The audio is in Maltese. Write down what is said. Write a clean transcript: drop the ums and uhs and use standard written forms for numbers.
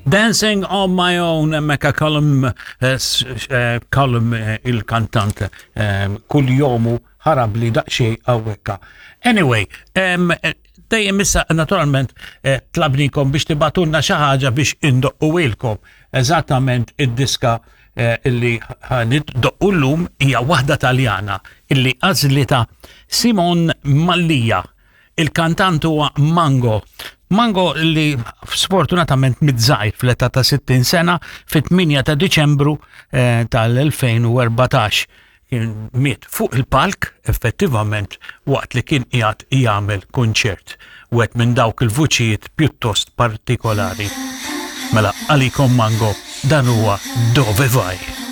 Dancing on my own, mekka Colum, eh, eh, Colum eh, il-kantant, kull jomu ħarab li daqxej għawekka. Anyway, dejjem issa naturalment tlabnikom biex tibatunna xi ħaġa biex indoqqu ilkom. Eżattament id-diska illi ħaniddoqqu llum hija waħda Taljana illi għażlita Simon Mallia. Il-kantant huwa Mango. Mango li sfortunatament mitt-żgħir fl-età ta' 60 sena fit-8 ta' Diċembru eh, tal-2014 kien miet fuq il-palk effettivament waqt li kien qiegħed jagħmel kunċert wieħed minn dawk il-vuċijiet pjuttost partikolari. Mela għalikom Mango dan huwa Dove Vai.